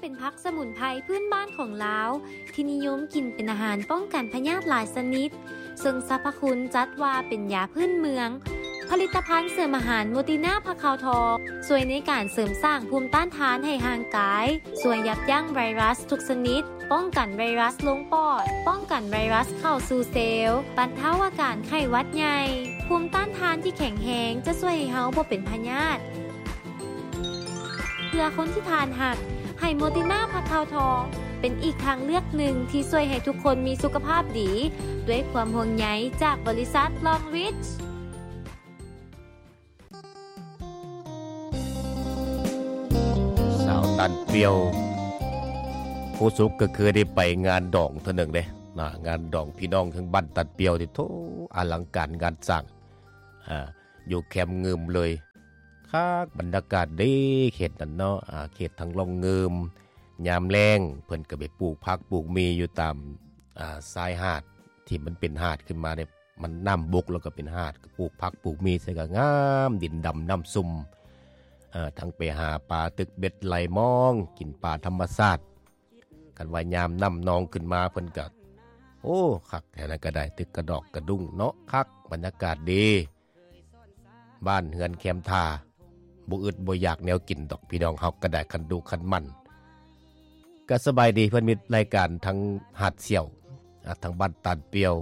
ເປັນຜັກສະໝຸນໄພພື້ນບ້ານຂອງລາວ ທີ່ນິຍົມກິນເປັນອາຫານປ້ອງກັນພະຍາດຫຼາຍຊະນິດ, ເຊິ່ງສັບພະຄຸນຈັດວ່າເປັນຢາພື້ນເມືອງ. ຜະລິດຕະພັນເສີມອາຫານໂມຕິນາຜັກຂາວທອງ ຊ່ວຍໃນການເສີມສ້າງພູມຕ້ານທານໃຫ້ຮ່າງກາຍ, ຊ່ວຍຢັບຢັ້ງໄວຣັສທຸກຊະນິດ, ປ້ອງກັນໄວຣັສລົງປອດ, ປ້ອງກັນໄວຣັສເຂົ້າສູ່ເຊວ, ບັນເທົາອາການໄຂ້ຫວັດໃຫຍ່. ພູມຕ້ານທານທີ່ແຂງແຮງຈະຊ່ວຍໃຫ້ເຮົາບໍ່ເປັນພະຍາດ. ເພື່ອຄົນທີ່ທ່ານຮັກ, ໃຫ້ໂມຕິນາຜັກຂາວທອງ ເປັນອີກທາງເລືອກໜຶ່ງທີ່ຊ່ວຍໃຫ້ທຸກຄົນມີສຸຂະພາບດີ ດ້ວຍຄວາມຫ່ວງໃຍຈາກບໍລິສັດ Long Reach. ສາວຕານປ່ຽວ ຄູສຸກກໍເຄີຍໄດ້ໄປງານດອງເທື່ອໜຶ່ງເດ້ນະ, ງານດອງພີ່ນ້ອງທາງບ້ານຕານປ່ຽວນີ້ ໂທ້ ອະລັງການງານສ້າງ ອ່າ ຢູ່ແຄມງື່ມເລີຍ. ຄັກ ບັນຍາກາດດີ ເຂດນັ້ນເນາະ ອ່າ ເຂດທາງລ່ອງງື່ມ. ຍາມແລ້ງເພິ່ນກໍໄປປູກຜັກປູກໝີ່ຢູ່ຕາມ ອ່າ ຊາຍຫາດ ທີ່ມັນເປັນຫາດຂຶ້ນມາເດ້ ມັນນ້ຳບົກແລ້ວກໍເປັນຫາດ ກໍປູກຜັກປູກໝີ່ໃສ່ກໍງາມ ດິນດຳນ້ຳຊຸ່ມ. ເອີ ທັງໄປຫາປາ ຕຶກເບັດໄຫຼມອງ ກິນປາທຳມະຊາດ. ຄັນວ່າຍາມນ້ຳນອງຂຶ້ນມາ ເພິ່ນກໍ ໂອ້ ຄັກ ແຖວນັ້ນກໍໄດ້ ຕຶກກະດອກກະດຸ້ງເນາະ ຄັກ ບັນຍາກາດດີ. ບ້ານເຮືອນແຄມທ່າ ບໍ່ອຶດບໍ່ຢາກແນວກິນດອກ ພີ່ນ້ອງເຮົາກໍໄດ້ ຄັນດຸຄັນໝັ່ນ. ກໍສະບາຍດີ ເພິ່ນມີລາຍການທັງຫາດສ່ຽວ ອ່າ ທັງບ້ານຕານປ່ຽວ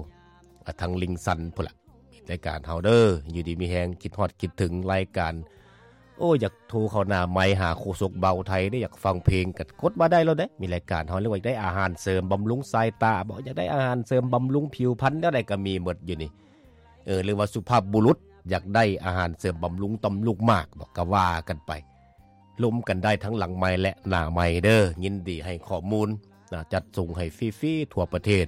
ອ່າ ທັງລິງຊັນພຸ້ນລະ ມີລາຍການເຮົາເດີ. ຢູ່ດີມີແຮງ ຄິດຮອດຄິດເຖິງລາຍການ. ໂອ້ ຢາກໂທເຂົ້າໜ້າໄມຫາໂຄສົກບ່າວໄທເດ້ ຢາກຟັງເພງ ກໍກົດມາໄດ້ໂລດເດ້. ມີລາຍການເຮົາ ຫຼືວ່າຢາກໄດ້ອາຫານເສີມບຳລຸງສາຍຕາບໍ ຢາກໄດ້ອາຫານເສີມບຳລຸງຜິວພັນ ແນວໃດກໍມີໝົດຢູ່ນີ້. ເອີ ຫຼືວ່າສຸພາບບຸລຸດ ຢາກໄດ້ອາຫານເສີມບຳລຸງຕ່ອມລູກໝາກບໍ ກໍວ່າກັນໄປ. ລົມກັນໄດ້ທັງຫຼັງໄມ ແລະ ໜ້າໄມເດີ. ຍິນດີໃຫ້ຂໍ້ມູນນະ ຈັດສົ່ງໃຫ້ຟຣີໆທົ່ວປະເທດ.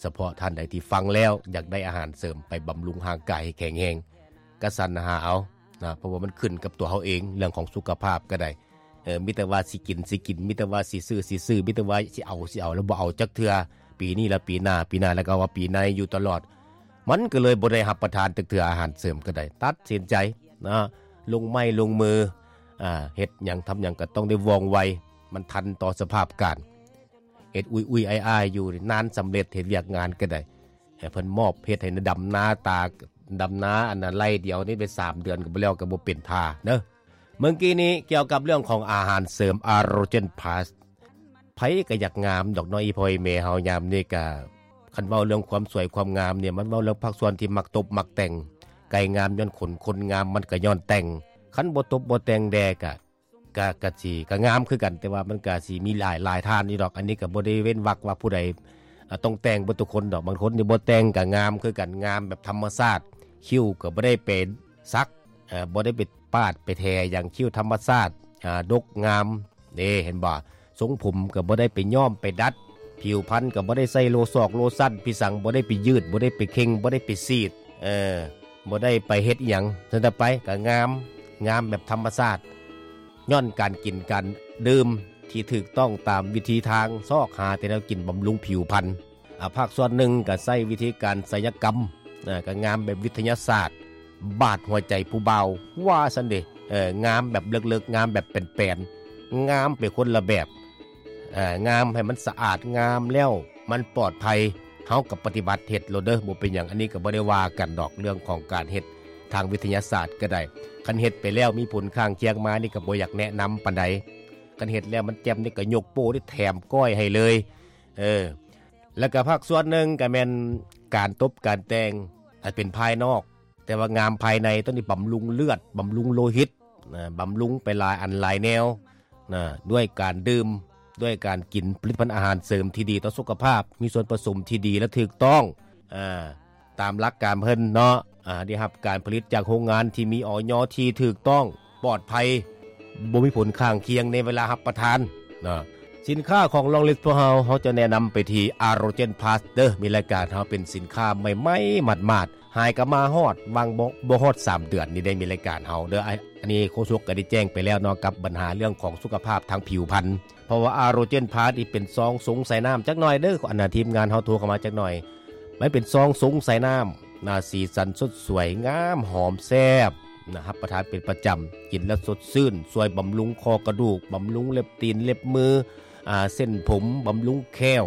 ສະເພາະທ່ານໃດທີ່ຟັງແລ້ວ ຢາກໄດ້ອາຫານເສີມໄປບຳລຸງຮ່າງກາຍໃຫ້ແຂງແຮງ ກະສັນຫາເອົານະ, ເພາະວ່າມັນຂຶ້ນກັບຕົວເຮົາເອງ ເລື່ອງຂອງສຸຂະພາບກໍໄດ້. ເອີ ມີແຕ່ວ່າຊິກິນ ຊິກິນ, ມີແຕ່ວ່າຊິຊື້ ຊິຊື້, ມີແຕ່ວ່າຊິເອົາ ຊິເອົາ ແລ້ວບໍ່ເອົາຈັກເທື່ອ. ປີນີ້ລະປີໜ້າ, ປີໜ້າແລ້ວກໍວ່າປີໃນຢູ່ຕະຫຼອດ. ມັນກໍເລີຍບໍ່ໄດ້ຮັບປະທານຈັກເທື່ອອາຫານເສີມກໍໄດ້. ຕັດສິນໃຈນະ ລົງໄມ້ລົງມື ອ່າ ເຮັດຫຍັງທຳຫຍັງກໍຕ້ອງໄດ້ວ່ອງໄວ, ມັນທັນຕໍ່ສະພາບການ. ເຮັດອຸຍໆອ້າຍໆຢູ່ ນານສຳເລັດ ເຮັດວຽກງານກໍໄດ້. ໃຫ້ເພິ່ນມອບເຮັດໃຫ້ດຳນາຕາ ດຳນາອັນນັ້ນໄລ່ດຽວນີ້ໄປສາມເດືອນກໍບໍ່ແລ້ວ ກໍບໍ່ເປັນທ່າເດີ. ເມື່ອກີ້ນີ້ກ່ຽວກັບເລື່ອງຂອງອາຫານເສີມ Arogen Plus ໃຜກໍຢາກງາມດອກເນາະ ອີ່ພໍ່ອີ່ແມ່ເຮົາຍາມນີ້ກະ ຄັນເວົ້າເລື່ອງຄວາມສວຍຄວາມງາມນີ້ ມັນເວົ້າເລື່ອງພາກສ່ວນທີ່ມັກຕົບມັກແຕ່ງ. ໄກ່ງາມຍ້ອນຂົນ ຄົນງາມມັນກໍຍ້ອນແຕ່ງ. ຄັນບໍ່ຕົບບໍ່ແຕ່ງແດ່ກະ ກະ ກະຊິ ກະງາມຄືກັນ ແຕ່ວ່າມັນກະຊິມີຫຼາຍ ຫຼາຍທ່ານຢູ່ດອກ. ອັນນີ້ກະບໍ່ໄດ້ເວັ້ນວັກວ່າຜູ້ໃດ ອາ ຕ້ອງແຕ່ງເບິດທຸກຄົນດອກ. ບາງຄົນນີ້ບໍ່ແຕ່ງກະງາມຄືກັນ ງາມແບບທຳມະຊາດ. ຄິ້ວກະບໍ່ໄດ້ໄປສັກ ເອີ່ ບໍ່ໄດ້ໄປປາດໄປແທຫຍັງ ຄິ້ວທຳມະຊາດ ອາ ດົກງາມເດ້ ເຫັນບໍ່? ຊົງຜົມກໍບໍ່ໄດ້ໄປຍ້ອມໄປດັດ ຜິວພັນກໍບໍ່ໄດ້ໃສ່ໂລຊອກໂລຊັນ ພິສັງບໍ່ໄດ້ໄປຍືດ ບໍ່ໄດ້ໄປເຄັ່ງ ບໍ່ໄດ້ໄປສີດ ເອີ ບໍ່ໄດ້ໄປເຮັດອີ່ຫຍັງ. ສ່ວນຕໍ່ໄປກໍງາມ ງາມແບບທຳມະຊາດ ຍ້ອນການກິນການດື່ມທີ່ຖືກຕ້ອງຕາມວິທີທາງ ຊອກຫາແຕ່ແນວກິນບຳລຸງຜິວພັນ. ອາ ພາກສ່ວນໜຶ່ງກໍໃຊ້ວິທີການໄສຍະກຳ ອາ ກໍງາມແບບວິທະຍາສາດ ບາດຫົວໃຈຜູ້ບ່າວວ່າຊັ້ນເດ. ເອີ ງາມແບບເລິກໆ ງາມແບບແປນໆ ງາມໄປຄົນລະແບບ. ເອີ ງາມໃຫ້ມັນສະອາດ ງາມແລ້ວມັນປອດໄພ ເຮົາກໍປະຕິບັດເຮັດໂລດເດີ ບໍ່ເປັນຫຍັງ. ອັນນີ້ກໍບໍ່ໄດ້ວ່າກັນດອກ ເລື່ອງຂອງການເຮັດທາງວິທະຍາສາດກໍໄດ້. ຄັນເຮັດໄປແລ້ວມີຜົນຂ້າງຄຽງມານີ້ ກໍບໍ່ຢາກແນະນຳປານໃດ. ຄັນເຮັດແລ້ວມັນແຈ່ມນີ້ ກໍຍົກໂປ້ນີ້ແຖມກ້ອຍໃຫ້ເລີຍ. ເອີ ແລ້ວກໍພາກສ່ວນໜຶ່ງກໍແມ່ນການຕົບການແຕ່ງ ອາດເປັນພາຍນອກ ແຕ່ວ່າງາມພາຍໃນ ຕ້ອງໄດ້ບຳລຸງເລືອດ ບຳລຸງໂລຫິດ ນະ ບຳລຸງໄປຫຼາຍອັນຫຼາຍແນວນະ ດ້ວຍການດື່ມ ດ້ວຍການກິນຜະລິດຕະພັນອາຫານເສີມທີ່ດີຕໍ່ສຸຂະພາບ ມີສ່ວນປະສົມທີ່ດີ ແລະ ຖືກຕ້ອງ ອາ ຕາມຫຼັກການເພິ່ນເນາະ ອາ ໄດ້ຮັບການຜະລິດຈາກໂຮງງານທີ່ມີ ອອຍ ທີ່ຖືກຕ້ອງ ປອດໄພ ບໍ່ມີຜົນຂ້າງຄຽງໃນເວລາຮັບປະທານນະ. ສິນຄ້າຂອງ Long Reach ພວກເຮົາ ເຮົາຈະແນະນຳໄປທີ່ Arogen Plus ເດີ. ມີລາຍການເຮົາເປັນສິນຄ້າໃໝ່ໆ ໝາດໆ ຫາຍກໍມາຮອດ ຫວ່າງບໍ່ ບໍ່ຮອດສາມເດືອນນີ້ໄດ້ມີລາຍການເຮົາເດີ. ອາ ອັນນີ້ໂຄສົກກໍໄດ້ແຈ້ງໄປແລ້ວເນາະ ກັບບັນຫາເລື່ອງຂອງສຸຂະພາບທາງຜິວພັນ. ເພາະວ່າ Arogen Plus ນີ້ເປັນຊອງສົງສາຍນ້ຳຈັກໜ່ອຍເດີ ອັນນະ ທີມງານເຮົາໂທເຂົ້າມາຈັກໜ່ອຍ. ມັນເປັນຊອງສົງສາຍນ້ຳນະ ສີສັນສົດສວຍ ງາມ ຫອມ ແຊບນະ ຮັບປະທານເປັນປະຈຳ ກິນແລ້ວສົດຊື່ນ ຊ່ວຍບຳລຸງຂໍ້ກະດູກ ບຳລຸງເລັບຕີນເລັບມື ອ່າ ເສັ້ນຜົມ, ບຳລຸງແຂ້ວ,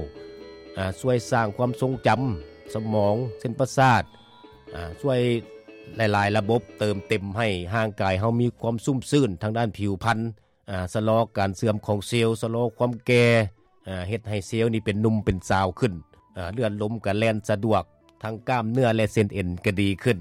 ອ່າ ຊ່ວຍສ້າງຄວາມຊົງຈຳ, ສະໝອງ, ເສັ້ນປະສາດ, ອ່າ ຊ່ວຍຫຼາຍໆລະບົບເຕີມເຕັມໃຫ້ຮ່າງກາຍເຮົາມີຄວາມຊຸ່ມຊື່ນທາງດ້ານຜິວພັນ, ອ່າ ຊະລໍການເສື່ອມຂອງເຊວ, ຊະລໍຄວາມແກ່, ອ່າ ເຮັດໃຫ້ເຊວນີ້ເປັນໜຸ່ມເປັນສາວຂຶ້ນ, ອ່າ ເລືອດລົມກໍແລ່ນສະດວກ, ທັງກ້າມເນື້ອ ແລະ ເສັ້ນເອັນກໍດີຂຶ້ນ.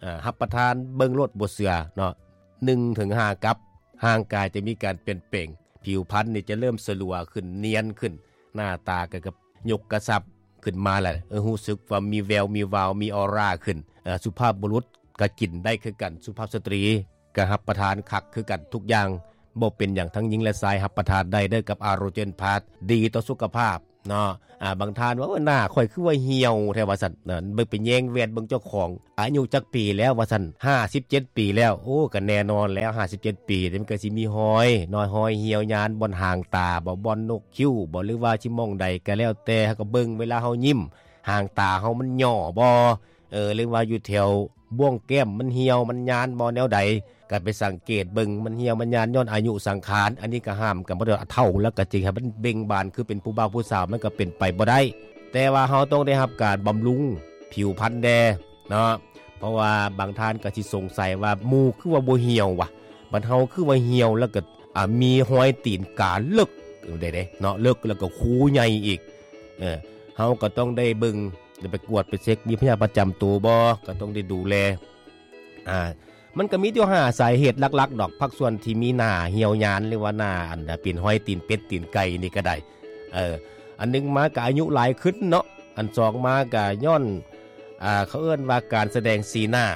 ອ່າ ຮັບປະທານເບິ່ງໂລດ ບໍ່ເຊື່ອເນາະ, ໜຶ່ງເຖິງຫ້າກັບ, ຮ່າງກາຍຈະມີການປ່ຽນແປງ, ຜິວພັນນີ້ຈະເລີ່ມສະຫຼວຂຶ້ນ, ນຽນຂຶ້ນ, ໜ້າຕາກໍ ກໍຍົກກະຊັບຂຶ້ນມາແລ້ວ, ເອີ ຮູ້ສຶກວ່າມີແວວມີວາວ, ມີອອຣາຂຶ້ນ. ເອີ ສຸພາບບຸລຸດກໍກິນໄດ້ຄືກັນ, ສຸພາບສະຕຣີກໍຮັບປະທານຄັກຄືກັນ, ທຸກຢ່າງບໍ່ເປັນຫຍັງ, ທັງຍິງ ແລະ ຊາຍຮັບປະທານໄດ້ເດີ ກັບອາໂຣເຈນພາສ, ດີຕໍ່ສຸຂະພາບເນາະ. ອ່າ ບາງທ່ານວ່າ ໂອ້ຍ ໜ້າຂ້ອຍຄືວ່າຫ່ຽວແທ້ວ່າຊັ້ນ, ເບິ່ງໄປແຍງແວ່ນເບິ່ງເຈົ້າຂອງ ອາຍຸຈັກປີແລ້ວວ່າຊັ້ນ, ຫ້າສິບເຈັດປີແລ້ວ. ໂອ້ ກໍແນ່ນອນແລ້ວ, ຫ້າສິບເຈັດປີ ມັນກໍຊິມີຮອຍເນາະ, ຮອຍຫ່ຽວຍານ ບ່ອນຫາງຕາບໍ, ບ່ອນນົກຄິ້ວບໍ ຫຼືວ່າຊິໝ່ອງໃດກໍແລ້ວແຕ່, ເຮົາກໍເບິ່ງເວລາເຮົາຍິ້ມ, ຫາງຕາເຮົາມັນຫຍໍ້ບໍ, ເອີ ຫຼືວ່າຢູ່ແຖວບ່ວງແກ້ມມັນຫ່ຽວ ມັນຍານບໍ ແນວໃດ, ກໍໄປສັງເກດເບິ່ງ ມັນຫ່ຽວມັນຍານຍ້ອນອາຍຸສັງຂານ. ອັນນີ້ກໍຫ້າມກັນບໍ່ໄດ້, ເຖົ້າແລ້ວກໍຊິໃຫ້ມັນເບັ່ງບານຄືເປັນຜູ້ບ່າວຜູ້ສາວ ມັນກໍເປັນໄປບໍ່ໄດ້. ແຕ່ວ່າເຮົາຕ້ອງໄດ້ຮັບການບຳລຸງຜິວພັນແດ່ເນາະ, ເພາະວ່າບາງທ່ານກໍຊິສົງໄສວ່າ ໝູ່ຄືວ່າບໍ່ຫ່ຽວວະ, ບັດເຮົາຄືວ່າຫ່ຽວ ແລ້ວກໍ ອ່າ ມີຮອຍຕີນກາເລິກເດ້ເນາະ, ເລິກແລ້ວກໍຄູໃຫຍ່ອີກ. ເອີ ເຮົາກໍຕ້ອງໄດ້ເບິ່ງ ໄດ້ໄປກວດໄປເຊັກ ມີພະຍາດປະຈຳໂຕບໍ່, ກໍຕ້ອງໄດ້ດູແລ. ອ່າ ມັນກໍມີຢູ່ຫ້າສາເຫດຫຼັກໆດອກ, ພາກສ່ວນທີ່ມີໜ້າຫ່ຽວຍານ ຫຼືວ່າໜ້າອັນເປັນຮອຍຕີນເປັດຕີນໄກ່ນີ້ກໍໄດ້. ເອີ ອັນໜຶ່ງມາກໍອາຍຸຫຼາຍຂຶ້ນເນາະ, ອັນສອງມາກໍຍ້ອນ ອ່າ ເຂົາເອີ້ນວ່າການສະແດງສີໜ້າ.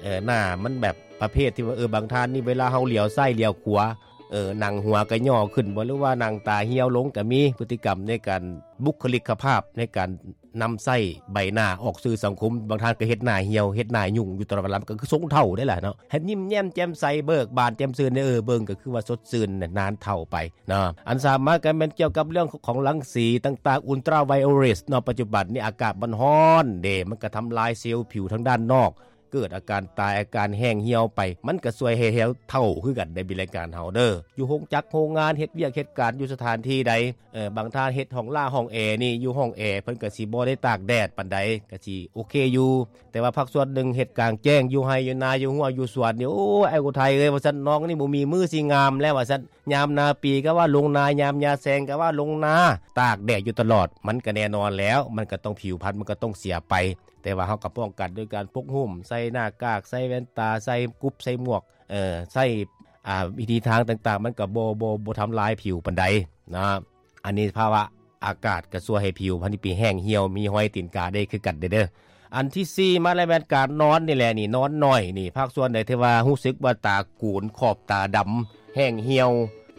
ເອີ ໜ້າມັນແບບປະເພດທີ່ວ່າ ເອີ ບາງທ່ານນີ້ເວລາເຮົາຫຼຽວຊ້າຍຫຼຽວຂວາ, ເອີ ໜັງຫົວກໍຫຍໍ້ຂຶ້ນບໍ ຫຼືວ່າໜັງຕາຫ່ຽວລົງກໍມີ. ພຶດຕິກຳໃນການ ບຸກຄະລິກກະພາບໃນການນຳໃຊ້ໃບໜ້າອອກສື່ສັງຄົມ, ບາງທ່ານກໍເຮັດໜ້າຫ່ຽວ ເຮັດໜ້າຫຍຸ້ງຢູ່ຕະຫຼອດເວລາ, ມັນກໍຄືຊົງເຖົ້າໄດ້ລະເນາະ. ໃຫ້ຍິ້ມແຍ້ມແຈ່ມໃສ ເບີກບານແຈ່ມຊື່ນ, ເອີ ເບິ່ງກໍຄືວ່າສົດຊື່ນນານເຖົ້າໄປເນາະ. ອັນສາມມາກໍແມ່ນກ່ຽວກັບເລື່ອງຂອງລັງສີຕ່າງໆ ອຸນຕຣາໄວໂອເລັດເນາະ, ປັດຈຸບັນນີ້ອາກາດມັນຮ້ອນເດ້, ມັນກໍທຳລາຍເຊວຜິວທາງດ້ານນອກ, ເກີດອາການຕາຍ ອາການແຫ້ງຫ່ຽວໄປ, ມັນກໍຊ່ວຍໃຫ້ເຮົາເຖົ້າຄືກັນໃນວິລະການເຮົາເດີ. ຢູ່ໂຮງຈັກໂຮງງານ ເຮັດວຽກເຮັດການຢູ່ສະຖານທີ່ໃດ, ເອີ ບາງທ່ານເຮັດຫ້ອງລ່າຫ້ອງແອນີ້, ຢູ່ຫ້ອງແອເພິ່ນກໍຊິບໍ່ໄດ້ຕາກແດດປານໃດ, ກໍຊິໂອເຄຢູ່. ແຕ່ວ່າພາກສ່ວນໜຶ່ງເຮັດກາງແຈ້ງ ຢູ່ໄຮ່ຢູ່ນາ ຢູ່ຮົ້ວຢູ່ສວນນີ້, ໂອ້ຍ ອ້າຍອຸໄທເອີຍ ວ່າຊັ້ນ, ນ້ອງນີ້ບໍ່ມີມື້ຊິງາມແລ້ວ ວ່າຊັ້ນ. ຍາມໜ້າປີກໍວ່າລົງນາ, ຍາມຍາແຊງກໍວ່າລົງນາ, ຕາກແດດຢູ່ຕະຫຼອດ, ມັນກໍແນ່ນອນແລ້ວ, ມັນກໍຕ້ອງ ຜິວພັນມັນກໍຕ້ອງເສຍໄປ. ແຕ່ວ່າເຮົາກໍປ້ອງກັນໂດຍການປົກຫຸ້ມ, ໃສ່ໜ້າກາກ, ໃສ່ແວ່ນຕາ, ໃສ່ກຸບ, ໃສ່ໝວກ, ເອີ ໃສ່ ອ່າ ວິທີທາງຕ່າງໆ, ມັນກໍບໍ່ ບໍ່ ບໍ່ທຳລາຍຜິວປານໃດເນາະ. ອັນນີ້ພາວະອາກາດກໍຊ່ວຍໃຫ້ຜິວພັນນີ້ໄປແຫ້ງຫ່ຽວ, ມີຮອຍຕີນກາໄດ້ຄືກັນເດີ. ອັນທີສີ່ມາແລ້ວແມ່ນການນອນນີ້ແຫຼະ, ນີ້ນອນໜ້ອຍນີ້, ພາກສ່ວນໃດທີ່ວ່າຮູ້ສຶກວ່າຕາໂກນ, ຂອບຕາດຳ, ແຫ້ງຫ່ຽວ,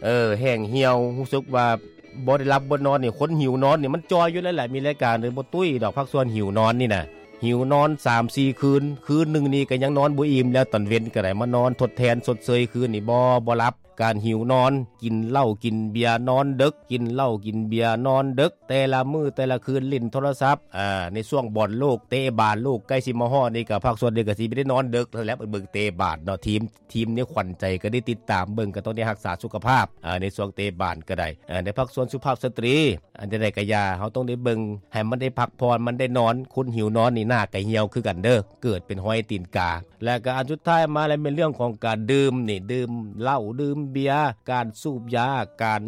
ເອີ ແຫ້ງຫ່ຽວ, ຮູ້ສຶກວ່າບໍ່ໄດ້ຫຼັບບໍ່ນອນນີ້, ຄົນຫິວນອນນີ້ມັນຈ່ອຍຢູ່ແລ້ວແຫຼະ, ມີລາຍການເລີຍບໍ່ຕຸ້ຍດອກ. ພາກສ່ວນຫິວນອນນີ້ນະ, ຫິວນອນສາມສີ່ຄືນ, ຄືນໜຶ່ງນີ້ກໍຍັງນອນບໍ່ອີ່ມແລ້ວ, ຕອນເວັນກໍໄດ້ມານອນທົດແທນຊົດເຊີຍຄືນນີ້ ບໍ່ ບໍ່ຫຼັບ. ການຫິວນອນ, ກິນເຫຼົ້າກິນເບຍນອນເດິກ, ກິນເຫຼົ້າກິນເບຍນອນເດິກ, ແຕ່ລະມື້ແຕ່ລະຄືນຫຼິ້ນໂທລະສັບ. ອ່າ ໃນຊ່ວງບອນໂລກ, ເຕະບານໂລກໃກ້ຊິມາຮອດນີ້, ກໍພາກສ່ວນໜຶ່ງກໍຊິໄປໄດ້ນອນເດິກແລ້ວ, ໄປເບິ່ງເຕະບານເນາະ, ທີມ ທີມໃນຂວັນໃຈກໍໄດ້ຕິດຕາມເບິ່ງ, ກໍຕ້ອງໄດ້ຮັກສາສຸຂະພາບ ອ່າ ໃນຊ່ວງເຕະບານກໍໄດ້. ອ່າ ໃນພາກສ່ວນສຸພາບສະຕຣີ, ອັນໃດໆກໍຢ່າ, ເຮົາຕ້ອງໄດ້ເບິ່ງໃຫ້ມັນໄດ້ພັກຜ່ອນ, ມັນໄດ້ນອນ. ຄົນຫິວນອນນີ້ໜ້າກໍຫ່ຽວຄືກັນເດີ, ເກີດເປັນຮອຍຕີນກາ. ແລະກໍອັນສຸດທ້າຍມາແລ້ວແມ່ນເລື່ອງຂອງການດື່ມນີ້, ດື່ມເຫຼົ້າ, ດື່ມເບຍ, ການສູບຢາ, ການ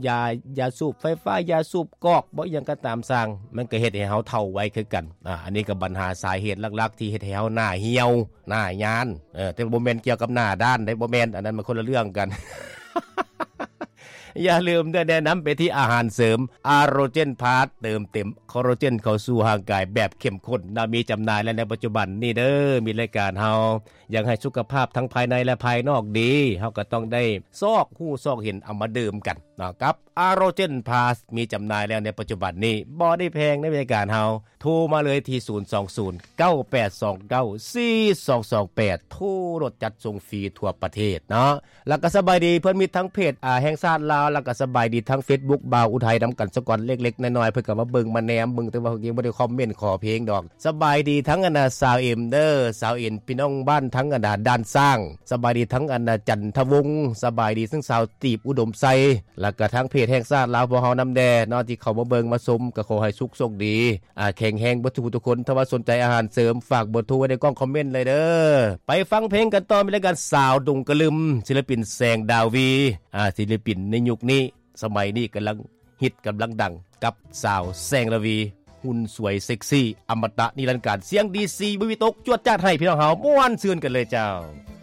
ຢາ ຢາສູບໄຟຟ້າ, ຢາສູບກອກບໍ, ອີ່ຫຍັງກໍຕາມຊ່າງ, ມັນກໍເຮັດໃຫ້ເຮົາເຖົ້າໄວຄືກັນ. ອ່າ ອັນນີ້ກໍບັນຫາສາເຫດຫຼັກໆທີ່ເຮັດໃຫ້ເຮົາໜ້າຫ່ຽວ, ໜ້າຍານ. ເອີ ແຕ່ບໍ່ແມ່ນກ່ຽວກັບໜ້າດ້ານເດ້, ບໍ່ແມ່ນ, ອັນນັ້ນມັນຄົນລະເລື່ອງກັນ. ຢ່າລືມເດີ, ແນະນຳໄປທີ່ອາຫານເສີມ ອາໂຣເຈນພລັສ, ເຕີມເຕັມຄອລລາເຈນເຂົ້າສູ່ຮ່າງກາຍແບບເຂັ້ມຂຸ້ນນະ, ມີຈຳໜ່າຍແລ້ວໃນປັດຈຸບັນນີ້ເດີ. ມີລາຍການເຮົາ ຢາກໃຫ້ສຸຂະພາບທັງພາຍໃນ ແລະ ພາຍນອກດີ, ເຮົາກໍຕ້ອງໄດ້ຊອກຮູ້ຊອກເຫັນເອົາມາດື່ມກັນເນາະ ກັບອາໂຣເຈນພລັສ ມີຈຳໜ່າຍແລ້ວໃນປັດຈຸບັນນີ້, ບໍ່ໄດ້ແພງໃນລາຍການເຮົາ. ໂທມາເລີຍທີ່ ສູນສອງສູນ ເກົ້າແປດສອງເກົ້າ ສີ່ສອງສອງແປດ, ໂທໂລດ, ຈັດສົ່ງຟຣີທົ່ວປະເທດເນາະ. ແລ້ວກໍສະບາຍດີເພື່ອນມິດທາງເພຈ ອາ ແຫ່ງຊາດລາວ, ແລ້ວກໍສະບາຍດີທາງເຟສບຸກບ່າວອຸໄທນຳກັນສາກ່ອນ, ເລັກໆນ້ອຍໆ ເພິ່ນກໍມາເບິ່ງມາແນມເບິ່ງ, ແຕ່ວ່າເພິ່ນຍັງບໍ່ໄດ້ຄອມເມັນຂໍເພງດອກ. ສະບາຍດີທັງອັນນ່າ ສາວເອັມເດີ, ສາວເອັມ ພີ່ນ້ອງບ້ານທັງອັນນ່າດ່ານຊ້າງ, ສະບາຍດີທັງອັນນ່າຈັນທະວົງ, ສະບາຍດີທັງສາວຕີບອຸດົມໄຊ, ແລ້ວກະທາງເພຈແຫ່ງຊາດລາວພວກເຮົານຳແດ່ເນາະ ທີ່ເຂົ້າມາເບິ່ງມາຊົມ ກໍຂໍໃຫ້ສຸກໂຊກດີ ອາ ແຂງແຮງເບິດທຸກຜູ້ທຸກຄົນ. ຖ້າວ່າສົນໃຈອາຫານເສີມ ຝາກເບີໂທໄວ້ໃນກ່ອງຄອມເມັນເລີຍເດີ. ໄປຟັງເພງກັນຕໍ່ ມີລາຍການສາວດົງກະລຶມ ສິລະປິນແສງດາວີ ອາ ສິລະປິນໃນຍຸກນີ້ ສະໄໝນີ້ກຳລັງຮິດກຳລັງດັງ ກັບສາວແສງລາວີ ຫຸ່ນສວຍເຊັກຊີ ອະມະຕະນິລັນການ ສຽງດີຊີບໍ່ມີຕົກ ຈວດຈາດໃຫ້ພີ່ນ້ອງເຮົາມ່ວນຊື່ນກັນເລີຍເຈົ້າ.